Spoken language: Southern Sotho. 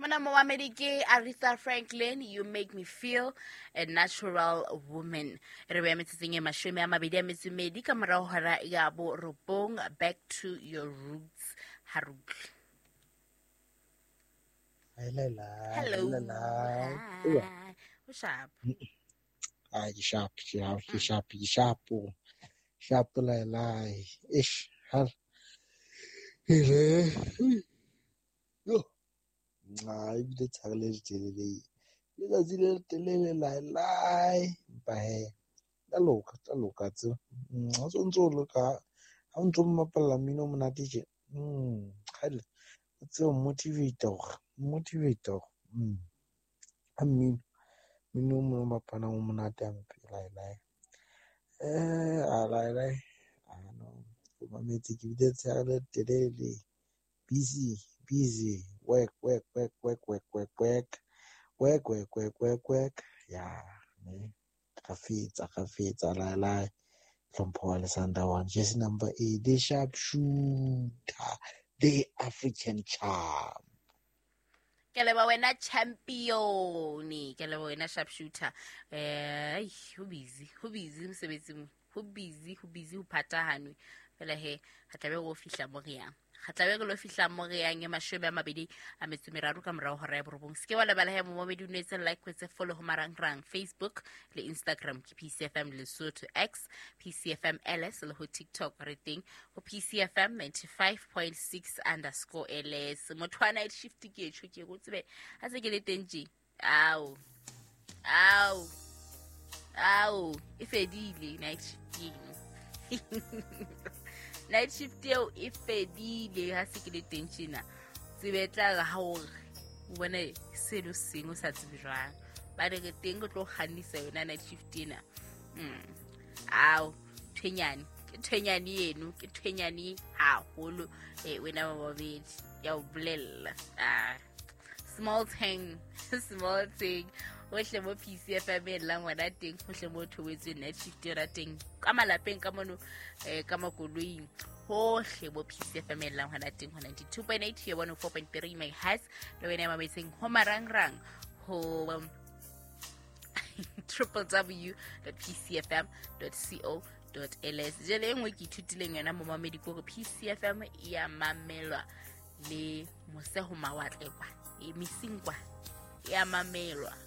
Mona momamedi ke Aretha Franklin, "You Make Me Feel a Natural Woman." Re beya metsotsong e 22 ka morago hora ya 9. Back to your roots, ha re utlwe. Hello. Hi. O sharp? Ah, ke sharp, ke sharp, ke sharp, ke sharp. Sharp lai lai. Ish, hal. Hele. Yo. Ah, ebile tshare le letelele. Letsatsi le letelele lai lai. Empa he, tla loka, tla loka tseo. Ha o ntso o loka, ha o ntso mmapalla mmino o monate tje. Kgale, o tsebe motivate hore, motivate hore. Ha mmino, mmino o mong o bapalang o monate hampe lai lai. A lai lai. Ah no, o mametse ke bile tshehare le letelele. Busy, busy, work, work, work, work, work, work, work, work, work, work, work, work. Ya, ne. Kgafetsa, kgafetsa, lai lai. Hlompho wa Lesandawana. Jersey number 8, the sharp shooter, the African charm. Ke leba wena champion, ke leba wena sharp shooter. Ai, ho busy, ho busy mosebetsing, ho busy, ho busy, ho phatahanwe fela he. Ga tlabe go fihla mo re yang, ga tlabe re lo fihla mo re yang e 23 ka morago hora ya 9. Se ke wa lebala he momamedi, o nwetse like, wetse follow ho marangrang, Facebook le Instagram ke PCFM Lesotho, X PCFM LS, le ho TikTok re teng ho PCFM 95.6_LS. Motho wa night shift ke etsho, ke go tsebe ha se ke le teng tje. Ao, ao, ao, e fedile night shift eno, night shift eo e fedile ha se ke le teng tjena. Tsebe tla re ha ore o bone seno sengwe o sa tsebe jwang, ba re re teng re tlo kgannisa yona night shift ena. Ao, thwenyane ke thwenyane eno, ke thwenyane haholo. Wena wa babedi ya o bolella. Ah, small thing, small thing. Hohle mo PCFM e llang ngwana teng, hohle mo thobetsweng night shift yona teng, ka malapeng ka mono, ka makoloing, hohle mo PCFM e llang hona teng ho 92.8 ya 104.3 megahertz, le wena ya mametseng ho marangrang ho www.pcfm.co.ls. Jele e nngwe ke ithutileng yona momamedi ke hore PCFM e ya mamelwa le mose ho mawatle kwa, e mesing kwa, e ya mamelwa.